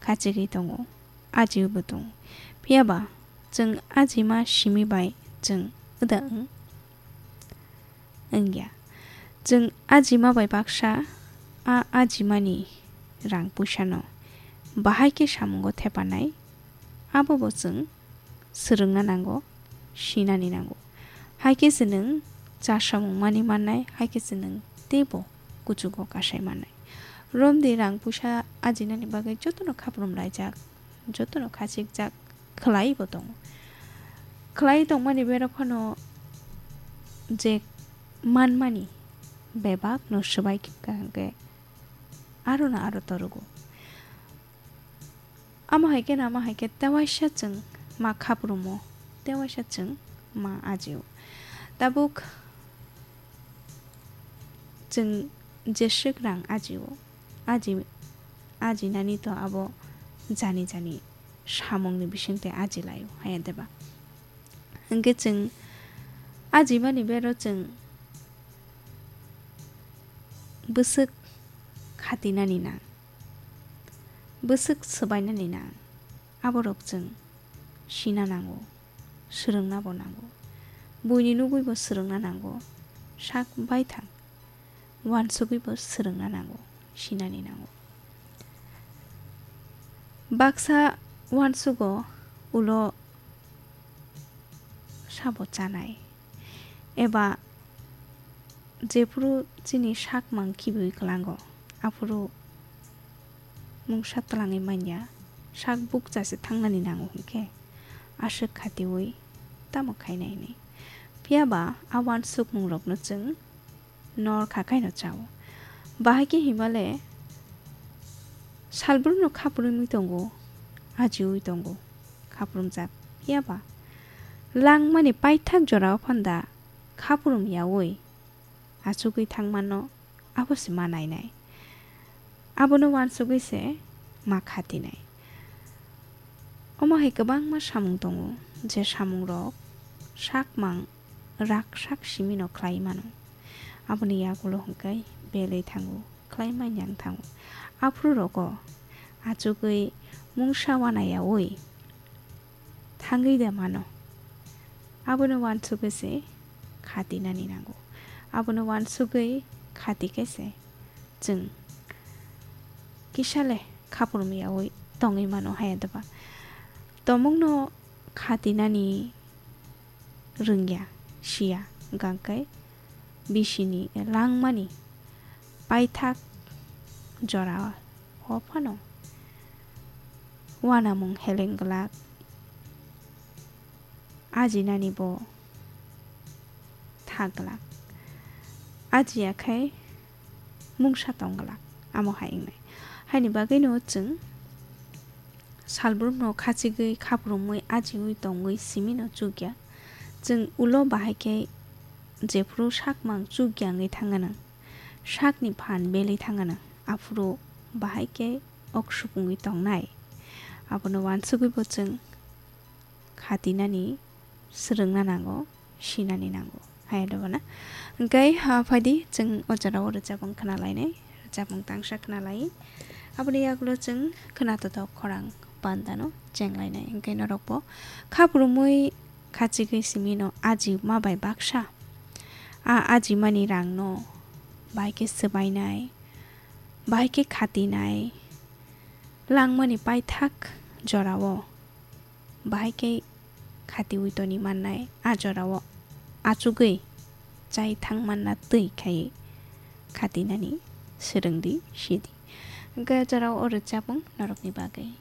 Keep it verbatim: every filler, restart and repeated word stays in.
kachigwi tongo, ajiwi bo tongo. Phiya ba chwng ajima simi bai chwng wda wng wngya. Chwng ajima bai baksa a ajimani rang puisano bahai khe samungo thepanai, abo bo chwng swrwngna nango, sinani nango. Hai khe se nwng cha samung mani mannai, hai khe se nwng teibo kuchugo kasai mannai. Romdi rang puisa ajinani bagwi jotono khaprum laijak, jotono khachikjak khlai bo tongo. Khlai tongmani berok phano je manmani bebak no swbai khe kaham khe aro no aro torogo. Amo hai khe no, amo hai khe tewaisa chwng ma khaprumo, tewaisa chwng ma ajio. Tabuk chwng jeswk rang ajio, aji, ajinani to abo jani jani samungni bisingtwi aji laio, haya deba? Hwnkhe chwng ajimani bero chwng bwswk khatinani nang, bwswk swbainani nang, aborok chwng sina nango, swrwngna bo nango. Buini nugwi bo swrwngna nango, sak baithang uansugwi bo swrwngna nango, sinani nango. Baksa uansugo ulo sabo chanai, eba jephuru chini sak mang khibiwi kwlango, aphuru mungsa twlangwi manya, sak bukcha se thangnani nango hwnkhe, aswk khatiwi tamo khainai hwnwi. Phiya ba a uansukmungrokno chwng nor kha khaino chao. Bahai khe himale salbrumno khapurumwi tongo, ajiwi tongo, khapurumjak. Phiya ba langmani paithak jorao phanda khaprum yaui achugwi thangmano abo se ma nainai. Abono uansugwi se ma khatinai. Omo hai kwbangma samung tongo, je samungrok sakmang rak sak simino khlai mano. Aboni yagulo hwnkhe belwi thango, khlai manya wng thango. Aphuru rogo achugwi mungsa wana yaui thangwi de mano. Abono uansugwi se khatinani nango. Abono uansugwi khati khe se chwng kisa le khaprum yaui tongwi mano haya deba. Tomungno khatinani rwngya, siya, hwnkhe bisini langmani paithak jora o phano uanamung heleng glak, ajinani bo thak glak, ajiya khai mungsa tong glak, amo hai wngnai. Haini bagwino chwng salbrumno khachigwi, khaprumwi, ajiwi tongwi simino chukya. Chwng ulo bahai khe jephuru sakmang chukya wngwi thangano, sakni phan belwi thangano, aphuru bahai khe ok supungwi tongnai. Abono uansugwi bo chwng khatinani swrwngna nango, sinani nango. Haya dobo na. Hwnkhe, ha, phaidi chwng o jorao rwchapung khna lainai, rwchapung tangsa khna lai. Aboni yagulo chwng khna totok khorang bandano cheng lainai. Hwnkhe norokbo khaprumwi khachigwi simino aji ma bai baksa. A ajimani rangno bahai khe swbainai, bahai khe khatinai, langmani paithak jorao bahai khe khatiwi toni mannai, a jorao achugwi chai thang manna twi khai khatinani swrwngdi, sidi. Hwnkhe o jorao o rwchapung norokni bagwi.